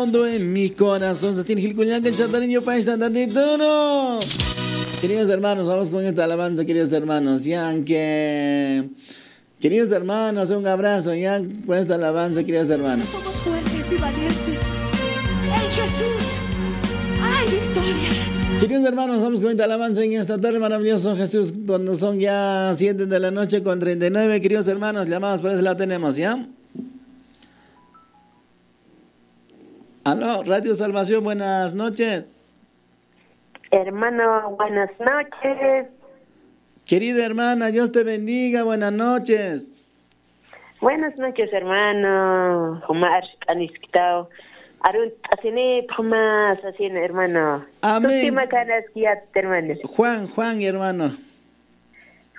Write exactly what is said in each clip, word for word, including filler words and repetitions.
Todo en mi corazón. Sasin jilkullaka chatariño paista tatituru. Queridos hermanos, vamos con esta alabanza, queridos hermanos. Ya que, queridos hermanos, un abrazo ya con esta alabanza, queridos hermanos. Somos fuertes y valientes. En Jesús hay victoria. Queridos hermanos, vamos con esta alabanza en esta tarde maravilloso, Jesús, cuando son ya siete de la noche con treinta y nueve. Queridos hermanos, llamados por eso la tenemos, ¿ya? Aló, Radio Salvación, buenas noches. Hermano, buenas noches. Querida hermana, Dios te bendiga, buenas noches. Buenas noches, hermano. Juma arst'anisktaw. Arun t'asini, juma sasin, hermano. Amén. Sutimakanaskiyat, hermano. Juan, Juan, hermano.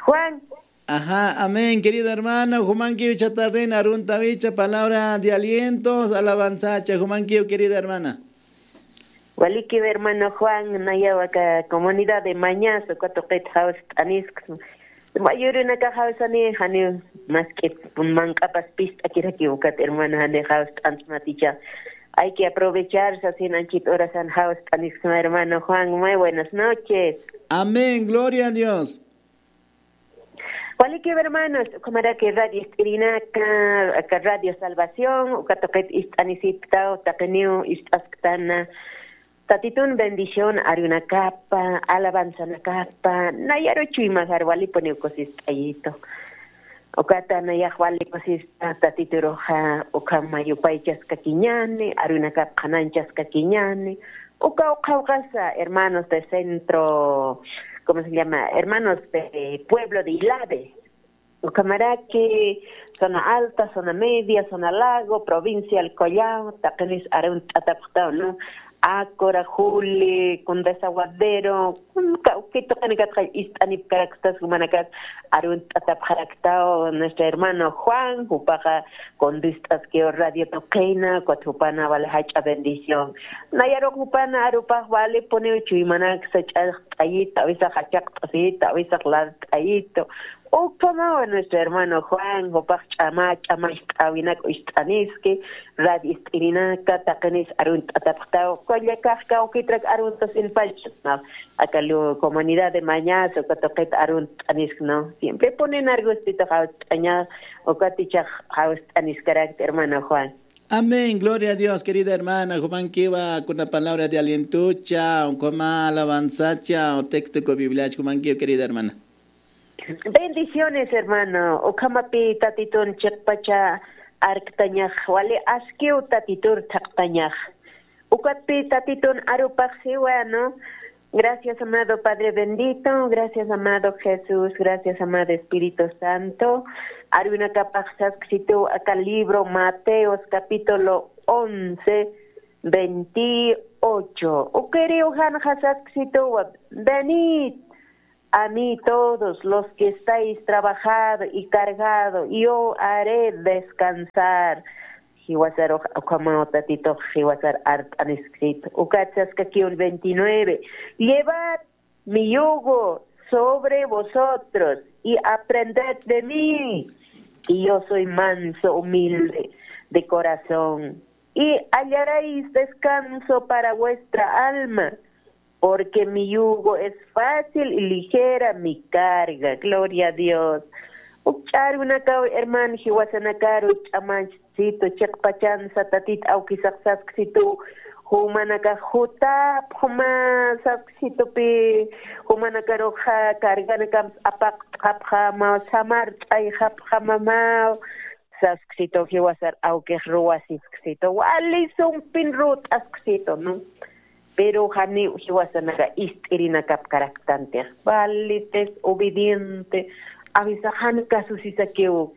Juan. Ajá, amén, querido hermano. Jumankiw icha tarden aruntawicha palabra de alientos, alabanzacha. Jumankiw, querida hermana. Walikiw, hermano Juan, nayaw aka comunidad de Mañazo, uka tuqit jawst'anisks. Mayurinaka jawsani, janiw mask'ip manq'apas pist'akirakiw ukat, hermano, jani jawst'ansmaticha. Hay que aprovechar, sasin anchit horasan jawst'anisksma, hermano Juan. Muy buenas noches. Amén, gloria a Dios. Walikiw, hermanos, ukhamaraki radio ist'irinaka, aka Radio Salvación, uka tuqit ist'anisiptaw, taqiniw ist'asktana. Tatitun bendición arunakapa, alabanzanakapa, nayaru chuymajar walipuniw kusist'ayitu. Ukata nayax wali kusista, tatituruxa, ukhama yupaychaskakiñani, arunakap qhananchaskakiñani, uka uqhawqasa, hermanos de centro, ¿cómo se llama? Hermanos de pueblo de Ilave. Ukhamaraki, zona alta, zona media, zona lago, provincia del Collao, taqinis arunt'atapxtaw, ¿no? Acora, Juli, con Desaguadero, con kawkituqinakatxa ist'anipkaraktas, jumanakat arunt'atapxaraktaw, nuestro hermano Juan, jupaxa, con dist'askiw radio tuqina, ukat jupana vale jach'a bendición. Nayaruq jupana arupax vale puniw chuymanak sach'axt'ayita, a veces jachaqt'asita, a veces lart'ayito. Ukhamawa nuestro hermano Juan, jupax ch'ama, ch'ama ist'awinak ist'aniski, radio ist'irinaka, taqinis arunt'atapxtaw, kullakax kawkitrak aruntasinpach, ¿no? Aka lu comunidad de Mañazo, uka tuqit arunt'anisk, ¿no? Siempre ponen argustito jawst'aña, ukatichax jawst'aniskarakta, hermano Juan. Amén, gloria a Dios, querida hermana. Jumankiwa kuna palabra de alientocha, o kuna alabanzacha, o texto con Biblia, jumankiwa, querida hermana. Bendiciones, hermano. Ukhamapi tatitun chiqpacha arktañax, wali askiw tatitur thaqtañax. Ukatpi tatitun arupax siwa, ¿no? Gracias, amado Padre bendito. Gracias, amado Jesús. Gracias, amado Espíritu Santo. Arunakapax sasksituw aka libro Mateos capítulo once, veintiocho. Ukiriw janxa sasksituwa: Venid a mí todos los que estáis trabajado y cargado, y yo haré descansar. Jiwasarux ukhamaw tatitux jiwasar art'anisksit. Ukat saskakiw veintinueve: Llevad mi yugo sobre vosotros y aprended de mí, que yo soy manso, humilde de corazón, y hallaréis descanso para vuestra alma, porque mi yugo es fácil y ligera mi carga. Gloria a Dios. Ukch'arunakaw, hermano, jiwasanakaru ch'amanchsitu, chiqpachansa tatit awkisax sasksitu, jumanakax jutapxma sasksitupi, jumanakaruxa carganakams apaqt'xapxama, samart'ayxapxamamaw, sasksitu, jiwasar awkix ruwasisksitu, wali sumpin rut'asksitu, ¿no? Pero janiw jiwasanaka ist'irinakapkaraktantix, vali desobediente, awisax jan kasusisakiw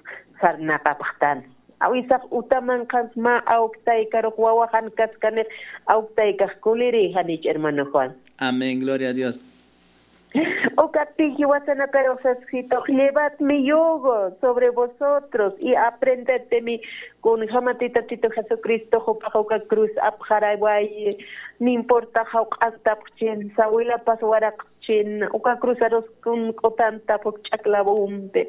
sarnaqapxtan. Awisax utamanqans mä awktaykarux wawa jan kaskanix, awktaykax kuliri, janich, hermano Juan. Amén, gloria a Dios. Ukatpi jiwasanakarux sasksitux: Llevad mi yugo sobre vosotros y aprended de mí. Kunjamati Tatitu Jesucristo jupax uka cruz apxarawayi, no importa jawq'antapxchin, sawilapas waraqchin, uka cruzarus kunk'utantap uk ch'aklavumpi.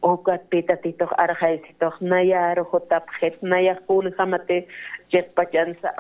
Ukatpï Tatitux arxaysitux nayar jutapxit, nayax kunjamati chiqpachansa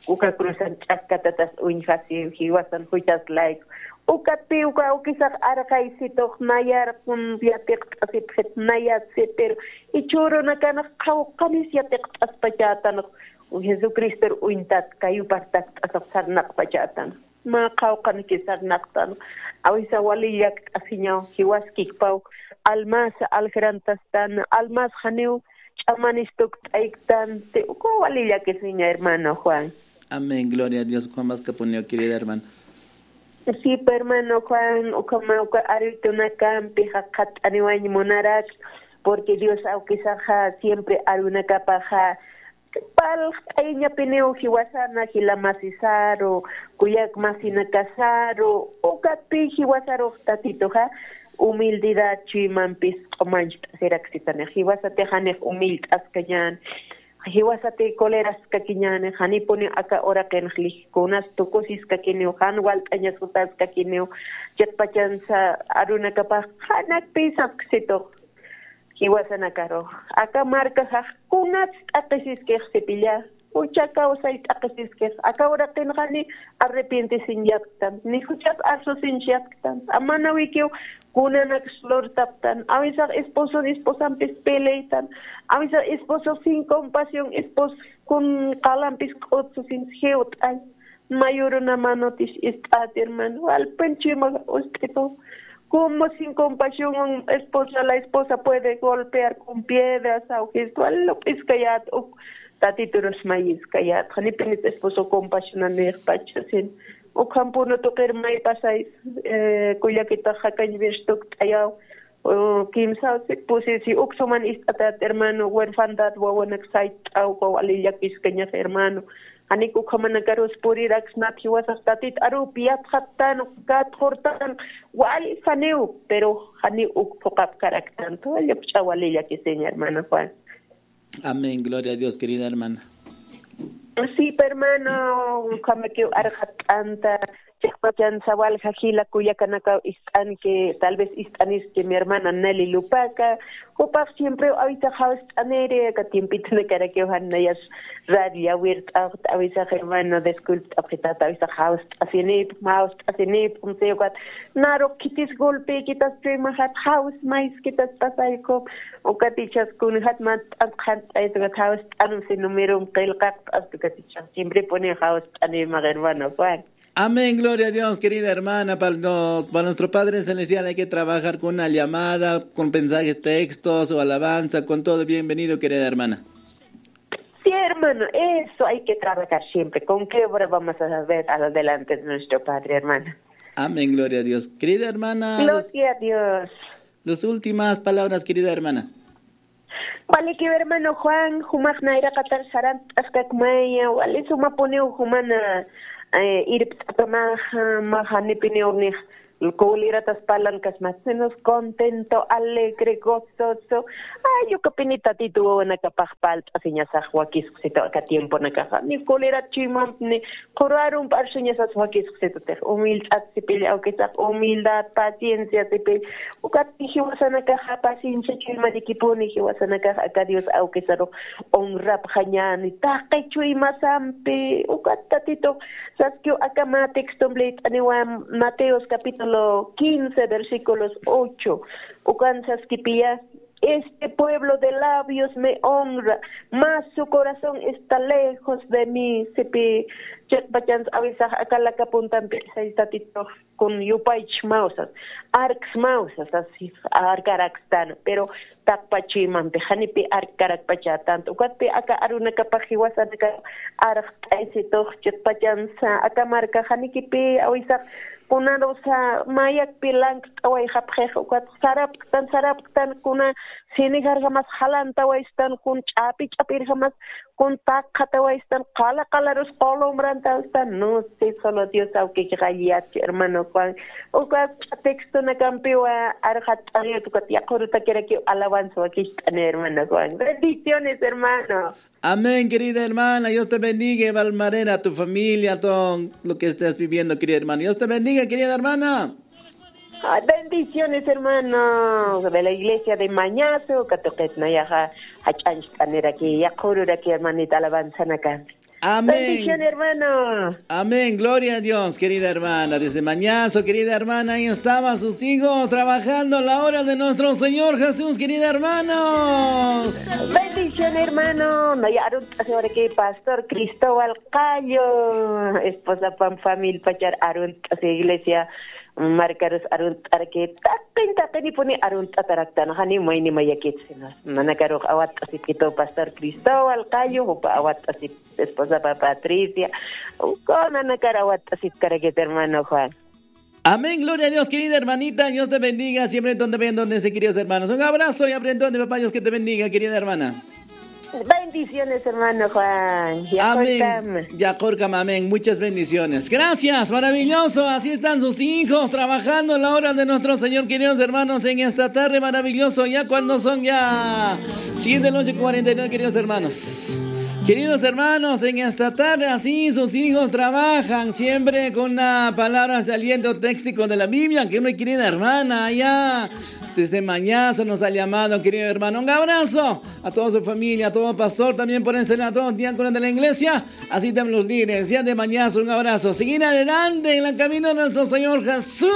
uka cruzan ch'akkatatas uñjasiw, jiwasan juchas layku. Ukatpï uka awkisax arxaysitux nayar kun yatiqt'asipxit, nayat sipir ichhürunakanx qhawqanis yatiqt'aspachätanx. Jesucristor uñtat kayupar takt'asax sarnaqpachätanx. Mä qhawqanki sarnaqtan. Awisa wali llakt'asiñaw, jiwaskikpaw almas aljrantastan, almas janiw ch'amanis tukt'ayktan. Te uka wali llakisiña, hermano Juan. Amén, gloria a Dios. Juan Vascapuniw, querida hermana. Sí, hermano Juan, ukhama uka aruytunakampi jaqhatt'aniwañ munarak, porque Dios awkisaxa siempre arunakapaxa palqt'ayañapiniw jiwasana jila masisaru, kuyak masinakasaru, ukatpï jiwasarux Tatituxa humildidad chuymampis q'umancht'asiraksitani. Jiwasatix janix humilt'askañäni, jiwasatix coleraskakiñäni, janipuniw aka uraqinx lij kunas tukusiskakiniw, jan walt'añas jutaskakiniw, chiqpachansa arunakapax janakpï sasksitux. Jiwasanakaru, aka markaxax kunats t'aqhisiskix sipilla, jucha kawsay t'aqhisiskix, aka uraqinxani arrepientisiñatktan, ni juchas arsusiñatktan, amanawikiw kunanaks lurtaptan, awisax esposon esposampis peleytan, awisax esposox sin compasión, esposo kun qalampis k'utsusin jiwt'ay. Mayuruna manotis ist'at, hermano. Alpin chuyma ust'itu. Como sin compasión, un esposa, la esposa puede golpear con piedras, aw jistu, alup'iskayat, uk tatiturus mayiskayat. Janipinit esposo compasión anixpachasin. Ukhampunu tuqir may pasay, eh, kullakitax jakañ virstuk t'ayaw. Kimsa pusi si uksuman ist'atat, hermano, huerfandad, wawanak sayt'aw, wali llakiskañax, hermano. Janik ukhamanakarus puriraksnat jiwasax Tatit arupi yatxattan, katxurtan, wal janiw, pero janiw uk phuqapkaraktan. Tuwallapch'a wali llakisiña, hermano Juan. Amén, gloria a Dios, querida hermana. Sí, hermano, ukhamakiw arxatt'anta, chiqpachansa walja jila kullakanakaw ist'anki, tal vez ist'aniski mi hermana Nelly Lupaca, jupax siempre awisa jawst'aniri, aka tiempitunakarakiw jan nayas radio yawirt'awxt, awisax hermano, disculpt'apxitat, awisax jawst'asinipxm, jawst'asinipxm, si ukat, naru khitis golpekitas chuymaxat, jaws mayskitas pasayku, ukat ichas kunjat mant'at qhant'ayt, ukat jawst'anum si numerom qillqaqt'ast, ukat ichas siemprepuniw jawst'animax, hermano Juan. Amén, gloria a Dios, querida hermana. Para, no- para nuestro Padre Celestial hay que trabajar con una llamada, con mensajes, textos o alabanza, con todo. Bienvenido, querida hermana. Sí, hermano, eso hay que trabajar siempre. ¿Con qué obra vamos a ver adelante de nuestro Padre, hermana? Amén, gloria a Dios. Querida hermana, los- Gloria a Dios. Las últimas palabras, querida hermana. Walikiw hermano Juan, jumax nayraqatar sarant'askakmaya, wali sumapuniw jumana, eh, irpt'apamaxa, maxa nipiniw nix, kuliratas parlankasma, sino contento, alegre, gozoso. Ay, ukapini Tatitu wawanakapax palt'asiñasax wakisqsitu aka tiemponakaxa. Ni kulirat chuymamp, ni qurarump arsuñasas wakisqsitutix. Humildad sipil, awkisax, humildad, paciencia sipil. Ukat jiwasanakaxa paciencia chuymanikipuni, jiwasanakax aka Dios awkisarux honrapxañäni, taqi chuymasampi, ukat Tatitux saskiw aka mä textomp liyt'aniwa, Mateos capítulo quince, versículos ocho, ukan saskipiya, este pueblo de labios me honra, mas su corazón está lejos de mí, sipi, chiqpachansa awisax aka laka puntampi, say Tatitux kun yupaychsmaw sas, arksmaw sas, sas arkarakstan, pero taqpach chuymampi janipï arkkarakpachätant. Ukatpï aka arunakapax jiwasanaka arxt'aysitux chiqpachansa, aka marka janikipï awisax kunarusa mayakpï lankt'awayxapxix, ukat sarapktan, sarapktan, kuna sinijarjamas jalantawaystan, kun ch'api ch'apirjamas kun taqxatawaystan, qala qalarus qulumrantawaystan. No sé, solo Dios awkiki qalliyatchi, hermano Juan. Ukat textonakampiwa arxatt'aniyat, ukat yaqhurutakirakiw alabanza wakicht'ani, hermano Juan. Bendiciones, hermano. Amén, querida hermana. Dios te bendiga, igual manera a tu familia, todo lo que estés viviendo, querida hermana. Dios te bendiga, querida hermana. Ah, bendiciones, hermanos, de la iglesia de Mañazo, katuqit nayaxa, jach'ancht'aniraki, yaqhururaki, hermanita, alabanzanaka. Amén. Bendición, hermano. Amén, gloria a Dios, querida hermana. Desde Mañazo, querida hermana, ahí estaban sus hijos trabajando la obra de nuestro Señor Jesús, querida hermana. Bendición, hermano. Naya arunt'asiwaraki, pastor Cristóbal Callo, esposa Pam, familia Pachar, arunt'asi iglesia markarus arunt'araki, taqin taqinipuni arunt'ataraktan, jani mayni mayakit sino. Nanakarux awatt'asipkitu, pastor Cristóbal Callo, jupa awatt'asip, esposa pa Patricia, uko nanakar awatt'asipkarakit, hermano Juan. Amén, gloria a Dios, querida hermanita, Dios te bendiga, siempre donde ven, donde se, queridos hermanos. Un abrazo y abre donde, papá Dios que te bendiga, querida hermana. Bendiciones, hermano Juan. Amén. Yaqhurkam. Yaqhurkam, amén. Muchas bendiciones. Gracias, maravilloso. Así están sus hijos trabajando la obra de nuestro Señor, queridos hermanos, en esta tarde maravilloso. Ya cuando son ya siete de la noche, cuarenta y nueve, queridos hermanos. Queridos hermanos, en esta tarde así sus hijos trabajan siempre con una palabra de aliento técnico de la Biblia, que una querida hermana allá desde Mañazo nos ha llamado, querido hermano. Un abrazo a toda su familia, a todo pastor, también por ese lado, a todos diáconos de la iglesia, así también los líderes, ya de Mañazo, un abrazo. Seguir adelante en el camino de nuestro Señor Jesús.